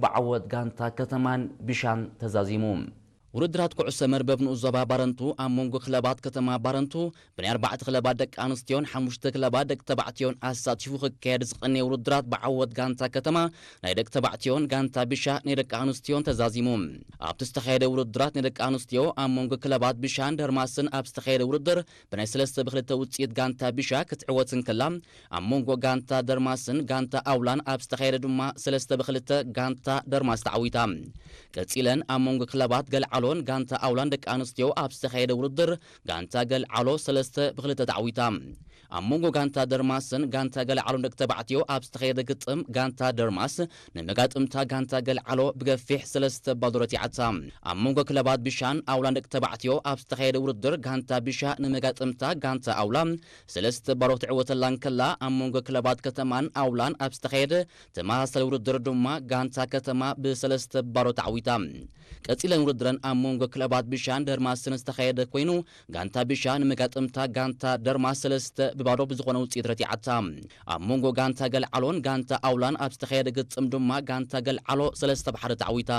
ብዓወት ጋንታ ከተማን ቢሻን ተዛዚሙ። ውድድራት ኩዕሶ መርበብ ንኡስ ዞባ ባረንቱ ኣብ መንጎ ክለባት ከተማ ባረንቱ ብናይ ኣርባዕተ ክለባት ደቂ ኣንስትዮን ሓሙሽተ ክለባት ደቂ ተባዕትዮን ኣሳቲፉ ክካየድ ዝቐነየ ውድድራት ብዓወት ጋንታ ከተማ ናይ ደቂ ተባዕትዮን ጋንታ ቢሻ ናይ ደቂ ኣንስትዮን ተዛዚሙ። ኣብቲ ዝተኻየደ ውድድራት ናይ ደቂ ኣንስትዮ ኣብ መንጎ ክለባት ቢሻን ደርማስን ኣብ ዝተኻየደ ውድድር ብናይ ሰለስተ ብክልተ ውፅኢት ጋንታ ቢሻ ክትዕወት እንከላ፣ ኣብ መንጎ ጋንታ ደርማስን ጋንታ ኣውላን ኣብ ዝተኻየደ ድማ ሰለስተ ብክልተ ጋንታ ደርማስ ተዓዊታ። ቀጺለን ኣብ መንጎ ክለባት ገልዓሎን ጋንታ ኣውላን ደቂ ኣንስትዮ ኣብ ዝተኻየደ ውድድር ጋንታ ገልዓሎ ሰለስተ ብክልተ ተዓዊታ። ኣብ መንጎ ጋንታ ደርማስን ጋንታ ገልዓሎን ደቂ ተባዕትዮ ኣብ ዝተኻየደ ግጥም ጋንታ ደርማስ ንመጋጥምታ ጋንታ ገልዓሎ ብገፊሕ ሰለስተ ባዶ ረቲዓታ። ኣብ መንጎ ክለባት ቢሻን ኣውላን ደቂ ተባዕትዮ ኣብ ዝተኻየደ ውድድር ጋንታ ቢሻ ንመጋጥምታ ጋንታ ኣውላ ሰለስተ ባዶ ትዕወተላ እንከላ፣ ኣብ መንጎ ክለባት ከተማን ኣውላን ኣብ ዝተኻየደ ተመሳሳሊ ውድድር ድማ ጋንታ ከተማ ብሰለስተ ባዶ ተዓዊታ። ቀጺለን ውድድረን ኣብ መንጎ ክለባት ቢሻን ደርማስን ዝተኻየደ ኮይኑ፣ ጋንታ ቢሻ ንመጋጥምታ ጋንታ ደርማስ ሰለስተ ብባዶ ብዝኾነ ውጽኢት ረቲዓታ። ኣብ መንጎ ጋንታ ገልዓሎን ጋንታ ኣውላን ኣብ ዝተኻየደ ግጥም ድማ ጋንታ ገልዓሎ ሰለስተ ብሓደ ተዓዊታ።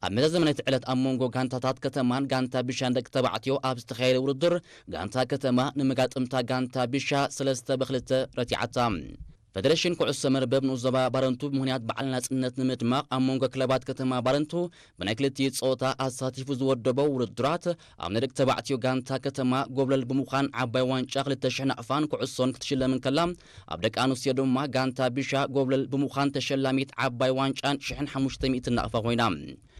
ኣብ መዛዘሚ ናይቲ ዕለት ኣብ መንጎ ጋንታታት ከተማን ጋንታ ቢሻን ደቂ ተባዕትዮ ኣብ ዝተኻየደ ውድድር፣ ጋንታ ከተማ ንመጋጥምታ ጋንታ ቢሻ ሰለስተ ብክልተ ረቲዓታ። ፈደረሽን ኩዕሶ መርበብ ንኡስ ዞባ ባረንቱ ብምኽንያት በዓል ናጽነት ንምድማቕ ኣብ መንጎ ክለባት ከተማ ባረንቱ ብናይ ክልቲኡ ጸወታ ኣሳቲፉ ዝወደቦ ውድድራት ኣብ ናይ ደቂ ተባዕትዮ ጋንታ ከተማ ጎብለል ብምዃን ዓባይ ዋንጫ ክልተ ሽሕ ናቕፋን ኩዕሶን ክትሽለም እንከላ፣ ኣብ ደቂ ኣንስትዮ ድማ ጋንታ ቢሻ ጎብለል ብምዃን ተሸላሚት ዓባይ ዋንጫን ሽሕን ሓሙሽተ ሚእትን ናቕፋ ኮይና።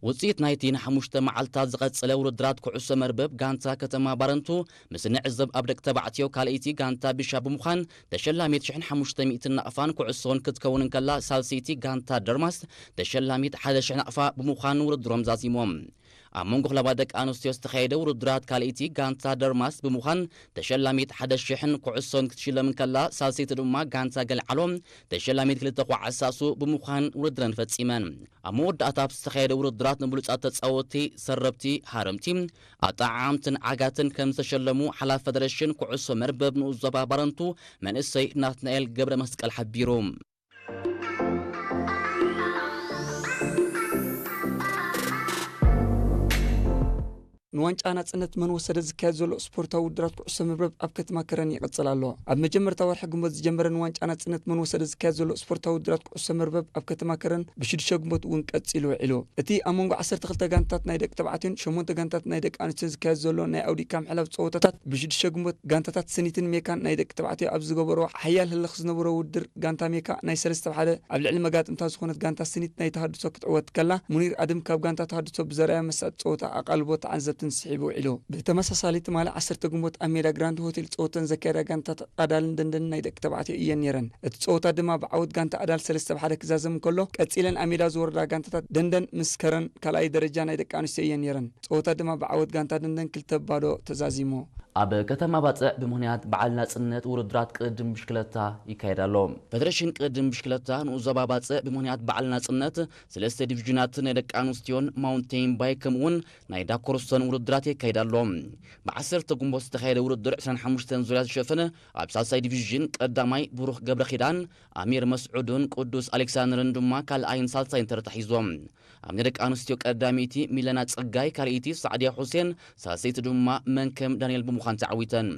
ውጽኢት ናይቲ ንሓሙሽተ መዓልታት ዝቐጸለ ውድድራት ኩዕሶ መርበብ ጋንታ ከተማ ባረንቱ ምስ ንዕዘብ ኣብ ደቂ ተባዕትዮ ካልኣይቲ ጋንታ ቢሻ ብምዃን ተሸላሚት ሽሕን ሓሙሽተ ሚእትን ናቕፋን ኩዕሶን ክትከውን እንከላ ሳልሰይቲ ጋንታ ደርማስ ተሸላሚት ሓደ ሽሕ ናቕፋ ብምዃን ውድድሮም ዛዚሞም። ኣብ መንጎ ክለባት ደቂ ኣንስትዮ ዝተኻየደ ውድድራት ካልኣይቲ ጋንታ ደርማስ ብምዃን ተሸላሚት ሓደ ሽሕን ኩዕሶን ክትሽለም እንከላ ሳልሰይቲ ድማ ጋንታ ገልዓሎ ተሸላሚት ክልተ ኩዓት ሳሱ ብምዃን ውድድረን ፈጺመን። ኣብ መወዳእታ ኣብ ዝተኻየደ ውድድራት ንብሉጻት ተጻወትቲ፣ ሰረብቲ፣ ሃረምቲ፣ ኣጠዓዓምትን ዓጋትን ከም ዝተሸለሙ ሓላፊ ፈደረሽን ኩዕሶ መርበብ ንኡስ ዞባ ባረንቱ መንእሰይ ናትናኤል ገብረ መስቀል ሓቢሩ። ንዋንጫ ናጽነት መን ወሰደ ዝካየድ ዘሎ ስፖርታዊ ውድድራት ኩዕሶ መርበብ ኣብ ከተማ ከረን ይቕጽል ኣሎ። ኣብ መጀመርታ ወርሒ ግንቦት ዝጀመረ ንዋንጫ ናጽነት መን ወሰደ ዝካየድ ዘሎ ስፖርታዊ ውድድራት ኩዕሶ መርበብ ኣብ ከተማ ከረን ብሽዱሽተ ግንቦት እውን ቀጺሉ ውዒሉ። እቲ ኣብ መንጎ ዓሰርተ ክልተ ጋንታት ናይ ደቂ ተባዕትዮን ሸሞንተ ጋንታት ናይ ደቂ ኣንስትዮ ዝካየድ ዘሎ ናይ ኣውዲእካ ምሕላፍ ጸወታታት ብሽዱሽተ ግንቦት ጋንታታት ስኒትን ሜካን ናይ ደቂ ተባዕትዮ ኣብ ዝገበሮ ሓያል ህልኽ ዝነበሮ ውድድር ጋንታ ሜካ ናይ ሰለስተ ብሓደ ኣብ ልዕሊ መጋጥምታ ዝኾነት ጋንታ ስኒት ናይ ተሃድሶ ክትዕወት ከላ፣ ሙኒር ኣድም ካብ ጋንታ ተሃድሶ ብዘርኣዮ መሳጢ ጸወታ ኣቓልቦ ተዓዘብትን ስሒቡ ውዒሉ። ብተመሳሳሊ ትማሊ ዓሰርተ ግንቦት ኣብ ሜዳ ግራንድ ሆቴል ጸወተን ዘካየዳ ጋንታ ኣዳልን ደንደንን ናይ ደቂ ተባዕትዮ እየን ነይረን። እቲ ጸወታ ድማ ብዓወት ጋንታ ኣዳል ሰለስተ ብሓደ ክዛዘም እንከሎ፣ ቀጺለን ኣብ ሜዳ ዝወረዳ ጋንታታት ደንደን ምስ ከረን ካልኣይ ደረጃ ናይ ደቂ ኣንስትዮ እየን ነይረን። ጸወታ ድማ ብዓወት ጋንታ ደንደን ክልተ ባዶ ተዛዚሙ። ኣብ ከተማ ባጽዕ ብምኽንያት በዓል ናጽነት ውድድራት ቅድድም ብሽክለታ ይካየድ ኣሎ። ፈደረሽን ቅድድም ብሽክለታ ንኡስ ዞባ ባጽዕ ብምኽንያት በዓል ናጽነት ሰለስተ ዲቪዥናት ናይ ደቂ ኣንስትዮን ማውንቴን ባይክ ከምኡውን ናይ ዳኮርሶን ውድድራት የካይድ ኣሎ። ብዓሰርተ ግንቦት ዝተኻየደ ውድድር ዕስራን ሓሙሽተን ዙርያ ዝሸፈነ ኣብ ሳልሳይ ዲቪዥን ቀዳማይ ብሩኽ ገብረ ኪዳን፣ ኣሚር መስዑድን ቅዱስ ኣሌክሳንድርን ድማ ካልኣይን ሳልሳይን ተርታ ሒዞም። ኣብ ናይ ደቂ ኣንስትዮ ቀዳመይቲ ሚለና ጸጋይ፣ ካልኣይቲ ሳዕድያ ሁሴን፣ ሳልሰይቲ ድማ መንከም ዳንኤል ብምዃን ተዓዊተን።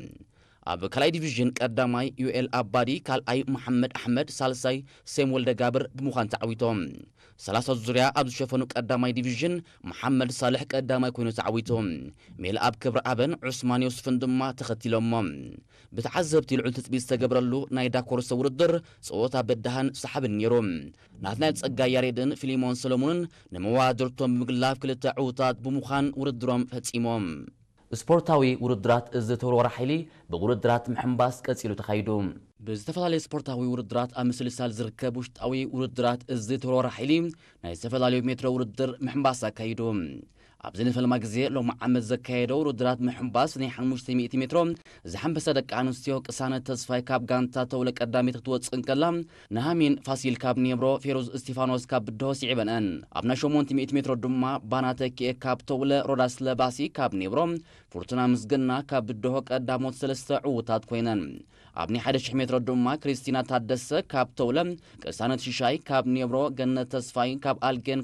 ኣብ ካልኣይ ዲቪዥን ቀዳማይ ዩኤል ኣባዲ፣ ካልኣይ መሓመድ ኣሕመድ፣ ሳልሳይ ሴም ወልደጋብር ብምዃን ተዓዊቶም። ሰላሳ ዙርያ ኣብ ዝሸፈኑ ቀዳማይ ዲቪዥን መሓመድ ሳልሕ ቀዳማይ ኮይኑ ተዓዊቱ። ሜልኣብ ክብረኣብን ዑስማን ዮስፍን ድማ ተኸቲሎሞ። ብተዓዘብቲ ልዑል ትጽቢት ዝተገብረሉ ናይ ዳኮርሶ ውድድር ጸወታ በዳህን ሰሓብን ነይሩ። ናትናኤል ጸጋይ ያሬድን ፊሊሞን ሰሎሞንን ንመወዳድርቶም ብምግላፍ ክልተ ዕዉታት ብምዃን ውድድሮም ፈጺሞም። ስፖርታዊ ውድድራት እዚ ተወርዋሪ ሓይሊ ብውድድራት ምሕንባስ ቀጺሉ ተኻይዱ። ብዝተፈላለየ ስፖርታዊ ውድድራት ኣብ ምስልሳል ዝርከብ ውሽጣዊ ውድድራት እዚ ተወርዋሪ ሓይሊ ናይ ዝተፈላለዩ ሜትሮ ውድድር ምሕንባስ ኣካይዱ። ኣብዚ ንፈልማ ግዜ ሎሚ ዓመት ዘካየደው ውድድራት ምሕንባስ ናይ ሓሙሽተ ሚእቲ ሜትሮ ዝሓንበሰ ደቂ ኣንስትዮ ቅሳነት ተስፋይ ካብ ጋንታ ተውለ ቀዳሚት ክትወፅእ እንከላ፣ ንሃሚን ፋሲል ካብ ኔብሮ፣ ፌሩዝ እስቲፋኖስ ካብ ብድሆ ስዒበንአን። ኣብ ናይ ሸሞንተ ሚእቲ ሜትሮ ድማ ባና ተኪኤ ካብ ተውለ፣ ሮዳስ ለባሲ ካብ ኔብሮ፣ ፍርቱና ምስግና ካብ ብድሆ ቀዳሞት ሰለስተ ዕዉታት ኮይነን። ኣብ ናይ ሓደ ሽሕ ሜትሮ ድማ ክሪስቲና ታደሰ ካብ ተውለ፣ ቅሳነት ሽሻይ ካብ ኔብሮ፣ ገነት ተስፋይ ካብ ኣልጌን